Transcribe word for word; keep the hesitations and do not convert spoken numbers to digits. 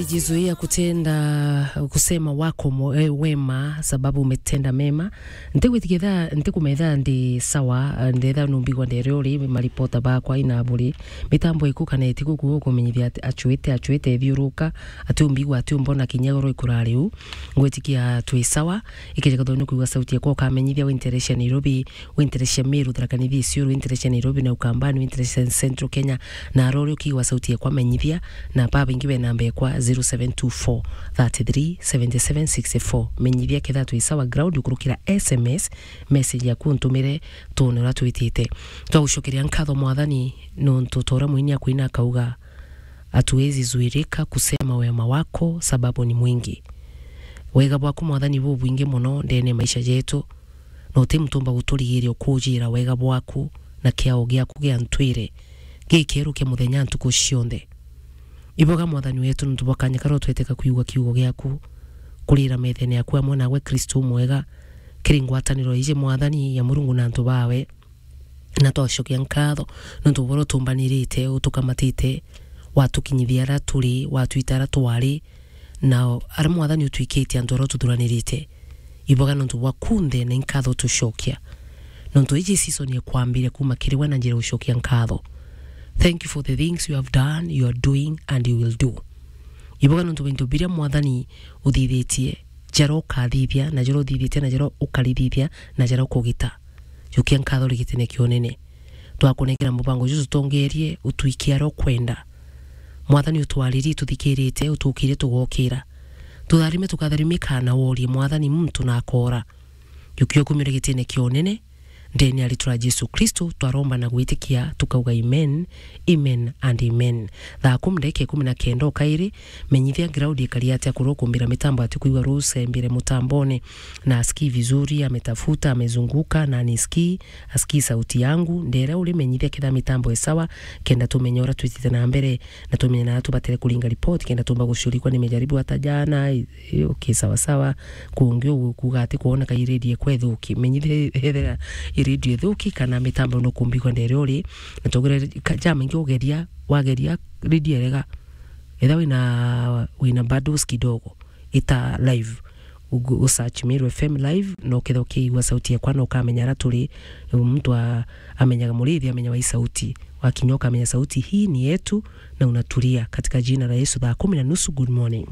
Jizuia kutenda kusema wako mo-, eh, wema, sababu umetenda mema. Ntigwitikia thaa, ntikumetha ndi sawa, eh, ndetha numbigwa ndere uri maripota bakwa ina buri. Mitambo iku kana itiku kuo kumenyithia ati achuite, achuite ithiuruka, ati umbigwa, ati umbona kinya oro ikurari u. Ngwitikia twi sawa, ikeja kathoni kuigua sauti yakwa ukamenyithia winterecia Nairobi, winterecia Meru, Tharaka Nithi, Isiolo, winterecia Nairobi na Ukambani, winterecia Central Kenya, na arori ukigua sauti yakwa menyithia, na babaingi be namba yakwa zero seven two four thirty three seventy seven sixty four. Menyithia ketha twi sawa ground ukurukira S M S, message yaku ntumire tuone uria twitite. Twagucokeria nkatho Mwathani nontu tora mwini akwina akauga, hatuwezi zuirika kusema wema wako sababu ni mwingi. Wega bwaku Mwathani bubwingi mono ndene maisha jetu, na uti muntu umba guturigiria ukujira wega bwaku na kiao giaku gia ntwire gikeru kia muthenya ntuku cionthe. Iboga Mwathani wetu nontu bwa kanya karia utweteka kwigua kiugo giaku, kurira methene yaku amwe nawe Kristo umwega, kiri ngwataniro iji Mwathani ya Murungu na antu bawe. Na twacokia nkatho nontu bwa uria utumbanirite, utukamatite, watukinyithia aria turi, watwita aria twari, na aria Mwathani utwikitie antu aria ututhuranirite. Iboga nontu bwa kunthe na inkatho tucokia. Nontu iji season ya kwambire kuma kiri we na njira ucokia nkatho. Thank you for the things you have done, you are doing and you will do. Iboga nontu bwa into biria Mwathani uthithitie, jaria ukathithia, na jaria uthithitie, na jaria ukarithithia, na jaria ukugita. Jukia nkatho ri gitine kia unene. Twakunengera mubango juju tutongerie, utwikie aria ukwenda. Mwathani utwaririe tuthikirite, utukire tugokira. Tutharime tukatharimika na worie Mwathani muntu na akora. Jukia ukumire gitine kia unene, ndene ya ritwa ria Jesu Kristo, twaromba na gwitikia, tukauga amen, amen and amen. Thaa kumi ndagika ikumi na kenda o kairi, menyithia ground ikari atia kurwa kumbira mitambo ati kwigua rucembire mutambone, na asikii vizuri, ametafuta, amezunguka, na anisikii, asikii sauti yangu, ndere uri menyithia ketha mitambo e sawa, kenda tumenye uria twitite na mbere, na tumenye na tubatere kuringa report, kenda tumba gucurikwa ni mijaribu ata jana, i-, i-, okay, sawa sawa, kungi uguo kuga ati kwoneka i radio ikwa ithuki, menyithia ethira i radio ithuki kana mitambo no kumbigwa ndere uri, na tugire ka-, jama ingi ugeria, wageria radio erega, etha wina, wina bundles kidogo, ita live, u-, u search Meru F M live, na ukethira ukiigua sauti yakwa, na ukamenya aria turi, muntu a-, amenyaga murithi, amenyaga i sauti. Wakinya ukamenya sauti hii ni yetu, na unatulia. Katika jina la Yesu, thaa kumi na nusu, good morning.